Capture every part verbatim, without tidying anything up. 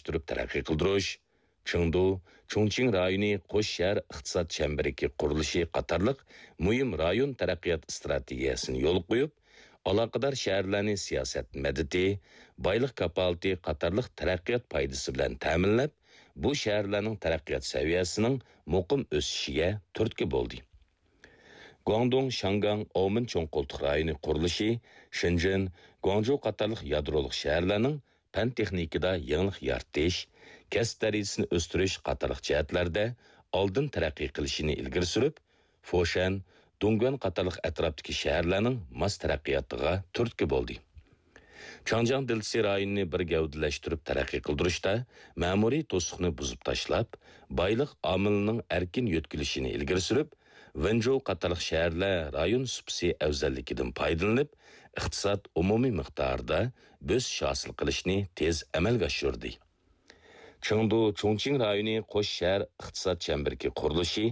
ئارتتۇرۇپ تەرەققىي قىلدۇرۇش، چېڭدۇ، چۇڭچىڭ رايونى قوش شەھەر ئىقتىساد چەمبىرىكى قۇرۇلۇشى قاتارلىق مۇھىم رايون تەرەققىيات ئىستراتېگىيەسىنى يولغا قويۇپ، ئالاقىدار شەھەرلەرنى سىياسەت مەدىتى، بايلىق كاپالىتى قاتارلىق تەرەققىيات پايدىسى بىلەن تەمىنلەپ، بۇ شەھەرلەرنىڭ تەرەققىيات سەۋىيەسىنىڭ مۇقىم ئۆسۈشىگە تۈرتكە بولدى. گۇاڭدۇڭ، شياڭگاڭ، ئاۋمېن چوڭ قولتۇق رايونى قۇرۇلۇشى، شېنجېن، گۇاڭجۇ قاتارلىق يادرولۇق شەھەرلەرنىڭ پەن-تېخنىكىدا يېڭىلىق يارىتىش، كەسىپ دەرىجىسىنى ئۆستۈرۈش قاتارلىق جەھەتلەردە ئالدىن تەرەققىي قىلىشىنى ئىلگىرى سۈرۈپ، فوشەن، دۇڭگۇەن قاتارلىق ئەتراپتىكى شەھەرلەرنىڭ ماس تەرەققىياتىغا تۈرتكە بولدى. چاڭجياڭ دېلتىسى رايونىنى بىر گەۋدىلەشتۈرۈپ تەرەققىي قىلدۇرۇشتا مەمۇرىي توسۇقنى بۇزۇپ تاشلاپ، بايلىق ئامىلىنىڭ ئەركىن يۆتكىلىشىنى ئىلگىرى سۈرۈپ، ۋېنجوۋ قاتارلىق شەھەرلەر رايون سۇپىسى ئەۋزەللىكىدىن پايدىلىنىپ، ئىقتىساد ئومۇمىي مىقدارىدا بۆسۈش ھاسىل قىلىشنى تېز ئەمەلگە ئاشۇردى. چېڭدۇ، چۇڭچىڭ رايونى قوش شەھەر ئىقتىساد چەمبىرىكى قۇرۇلۇشى،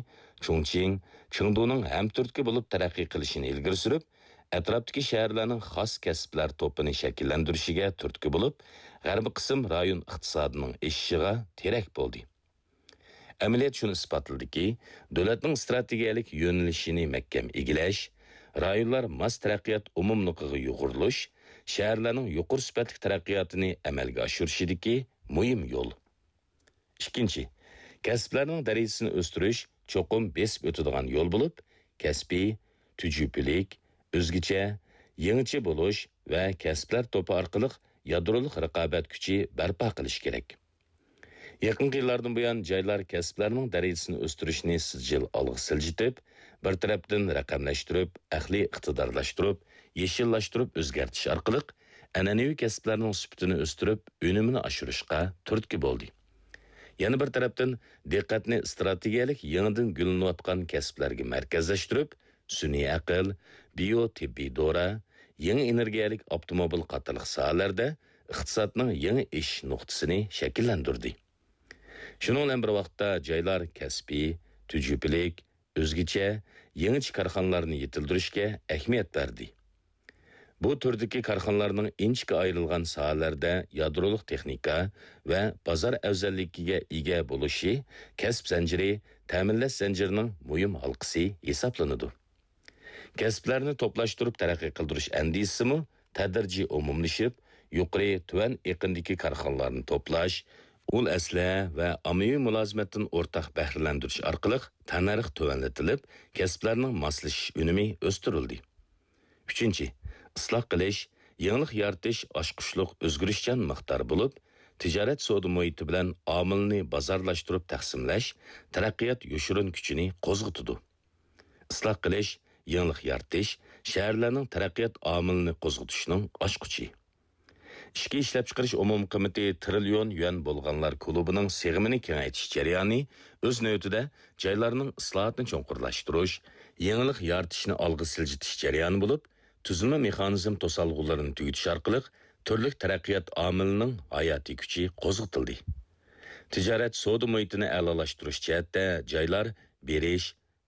چۇڭچىڭ، چېڭدۇنىڭ ھەمتۈرتكە بولۇپ تەرەققىي قىلىشىنى ئىلگىرى سۈرۈپ، ئەتراپتىكى شەھەرلەرنىڭ خاس كەسىپلەر توپىنى شەكىللەندۈرۈشىگە تۈرتكە بولۇپ، غەربىي قىسىم رايون ئىقتىسادىنىڭ ئېشىشىغا تىرەك بولدى. ئەمەلىيەت شۇنى ئىسپاتلىدىكى، دۆلەتنىڭ ئىستراتېگىيەلىك يۆنىلىشىنى مەھكەم ئىگىلەش، رايونلار ماس تەرەققىيات ئومۇملۇقىغا يۇغۇرۇلۇش شەھەرلەرنىڭ يۇقىرى سۈپەتلىك تەرەققىياتىنى ئەمەلگە ئاشۇرۇشىدىكى مۇھىم يول. ئىككىنچى، كەسىپلەرنىڭ دەرىجىسىنى ئۆستۈرۈش چوقۇم بېسىپ ئۆتىدىغان يول بولۇپ، كەسپىي، تۈجۈپىلىك، ئۆزگىچە، يېڭىچە بولۇش ۋە كەسىپلەر توپى ئارقىلىق يادرولۇق رىقابەت كۈچى بەرپا قىلىش كېرەك. يېقىنقى يىللاردىن بۇيان، جايلار كەسىپلەرنىڭ دەرىجىسىنى ئۆستۈرۈشنى سىجىل ئالغا سىلجىتىپ، بىر تەرەپتىن رەقەملەشتۈرۈپ، ئەقلىي ئىقتىدارلاشتۇرۇپ، يېشىللاشتۇرۇپ ئۆزگەرتىش ئارقىلىق، ئەنئەنىۋى كەسىپلەرنىڭ سۈپىتىنى ئۆستۈرۈپ، ئۈنۈمىنى ئاشۇرۇشقا تۈرتكە بولدى. يەنە بىر تەرەپتىن، دىققەتنى ئىستراتېگىيەلىك يېڭىدىن گۈللىنىۋاتقان كەسىپلەرگە مەركەزلەشتۈرۈپ، سۈنئىي ئەقىل، بىيو تېببىي دورا، يېڭى ئېنېرگىيەلىك ئاپتوموبىل قاتارلىق ساھەلەردە ئىقتىسادنىڭ يېڭى ئېشىش نۇقتىسىنى شەكىللەندۈردى. شۇنىڭ بىلەن بىر ۋاقىتتا، جايلار كەسپىي، تۈجۈپىلىك، ئۆزگىچە، يېڭىچە كارخانىلارنى يېتىلدۈرۈشكە ئەھمىيەت بەردى. بۇ تۈردىكى كارخانىلارنىڭ ئىنچىكە ئايرىلغان ساھەلەردە يادرولۇق تېخنىكا ۋە بازار ئەۋزەللىكىگە ئىگە بولۇشى كەسىپ زەنجىرى، تەمىنلەش زەنجىرىنىڭ مۇھىم ھالقىسى ھېسابلىنىدۇ. كەسىپلەرنى توپلاشتۇرۇپ تەرەققىي قىلدۇرۇش ئەندىزىسىمۇ تەدرىجىي ئومۇملىشىپ، يۇقىرى، تۆۋەن ئېقىندىكى كارخانىلارنى توپلاش، ئۇل ئەسلىھە ۋە ئاممىۋى مۇلازىمەتتىن ئورتاق بەھرىلەندۈرۈش ئارقىلىق تەننەرخ تۆۋەنلىتىلىپ، كەسىپلەرنىڭ ماسلىشىش ئۈنۈمى ئۆستۈرۈلدى. ئۈچىنچى، ئىسلاھ قىلىش، يېڭىلىق يارىتىش ئاچقۇچلۇق ئۆزگىرىشچان مىقدار بولۇپ، تىجارەت سودا مۇھىتى بىلەن ئامىلنى بازارلاشتۇرۇپ تەقسىملەش تەرەققىيات يوشۇرۇن كۈچىنى قوزغىتىدۇ. ئىسلاھ قىلىش، يېڭىلىق يارىتىش شەھەرلەرنىڭ تەرەققىيات ئامىلىنى قوزغىتىشنىڭ ئاچقۇچى. ئىچكى ئىشلەپچىقىرىش ئومۇمىي قىممىتى تىرىليون يۈەن بولغانلار كۇلۇبىنىڭ سىغىمىنى كېڭەيتىش جەريانى، ئۆز نۆۋىتىدە، جايلارنىڭ ئىسلاھاتنى چوڭقۇرلاشتۇرۇش، يېڭىلىق يارىتىشنى ئالغا سىلجىتىش جەريانى بولۇپ، تۈزۈلمە مېخانىزم توسالغۇلىرىنى تۈگىتىش ئارقىلىق تۈرلۈك تەرەققىيات ئامىلىنىڭ ھاياتىي كۈچى قوزغىتىلدى. تىجارەت سودا مۇھىتىنى ئەلالاشتۇرۇش جەھەتتە جايلار بېرىش،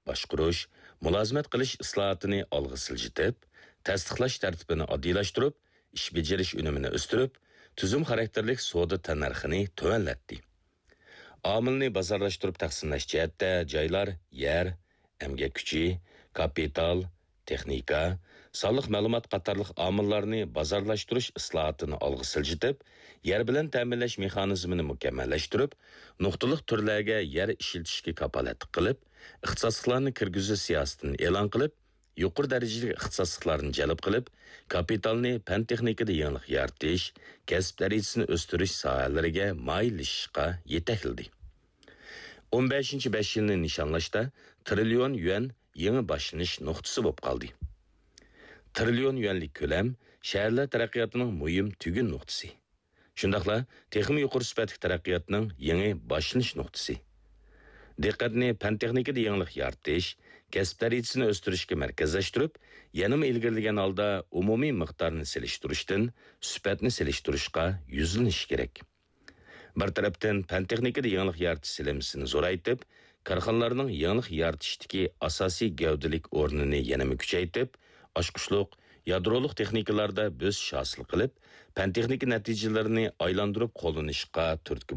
باشقۇرۇش، مۇلازىمەت قىلىش ئىسلاھاتىنى ئالغا سىلجىتىپ، تەستىقلاش تەرتىپىنى ئاددىيلاشتۇرۇپ، ئىش بېجىرىش ئۈنۈمىنى ئۆستۈرۈپ، تۈزۈم خاراكتېرلىك سودا تەننەرخىنى تۆۋەنلەتتى. ئامىلنى بازارلاشتۇرۇپ تەقسىملەش جەھەتتە جايلار يەر، ئەمگەك كۈچى، كاپىتال، تېخنىكا، سانلىق مەلۇمات قاتارلىق ئامىللارنى بازارلاشتۇرۇش ئىسلاھاتىنى ئالغا سىلجىتىپ، يەر بىلەن تەمىنلەش مېخانىزمىنى مۇكەممەللەشتۈرۈپ، نۇقتىلىق تۈرلەرگە يەر ئىشلىتىشكە كاپالەتلىك قىلىپ، ئىختىساسلىقلارنى كىرگۈزۈش سىياسىتىنى ئېلان قىلىپ، يۇقىرى دەرىجىلىك ئىختىساسلىقلارنى جەلپ قىلىپ، كاپىتالنى پەن-تېخنىكىدا يېڭىلىق يارىتىش، كەسىپ دەرىجىسىنى ئۆستۈرۈش ساھەلىرىگە مايىللىشىشقا يېتەكلىدى. ئون بەشىنچى بەش يىلنى نىشانلاشتا تىرىليون يۈەن يېڭى باشلىنىش نۇقتىسى بولۇپ قالدى. تىرىليون يۈەنلىك كۆلەم شەھەرلەر تەرەققىياتىنىڭ مۇھىم تۈگۈن نۇقتىسى. شۇنداقلا تېخىمۇ يۇقىرى سۈپەتلىك تەرەققىياتنىڭ يېڭى باشلىنىش نۇقتىسى. دىققەتنى پەن-تېخنىكىدا يېڭىلىق يارىتىش، كەسىپ دەرىجىسىنى ئۆستۈرۈشكە مەركەزلەشتۈرۈپ، يەنىمۇ ئىلگىرىلىگەن ھالدا ئومۇمىي مىقدارنى سېلىشتۇرۇشتىن سۈپەتنى سېلىشتۇرۇشقا يۈزلىنىش كېرەك. بىر تەرەپتىن، پەن-تېخنىكىدا يېڭىلىق يارىتىش سېلىنمىسىنى زورايتىپ، كارخانىلارنىڭ يېڭىلىق يارىتىشتىكى ئاساسىي گەۋدىلىك ئورنىنى يەنىمۇ كۈچەيتىپ، ئاچقۇچلۇق، يادرولۇق تېخنىكىلاردا بۆسۈش ھاسىل قىلىپ، پەن-تېخنىكا نەتىجىلىرىنى ئايلاندۇرۇپ قوللىنىشقا تۈرتكە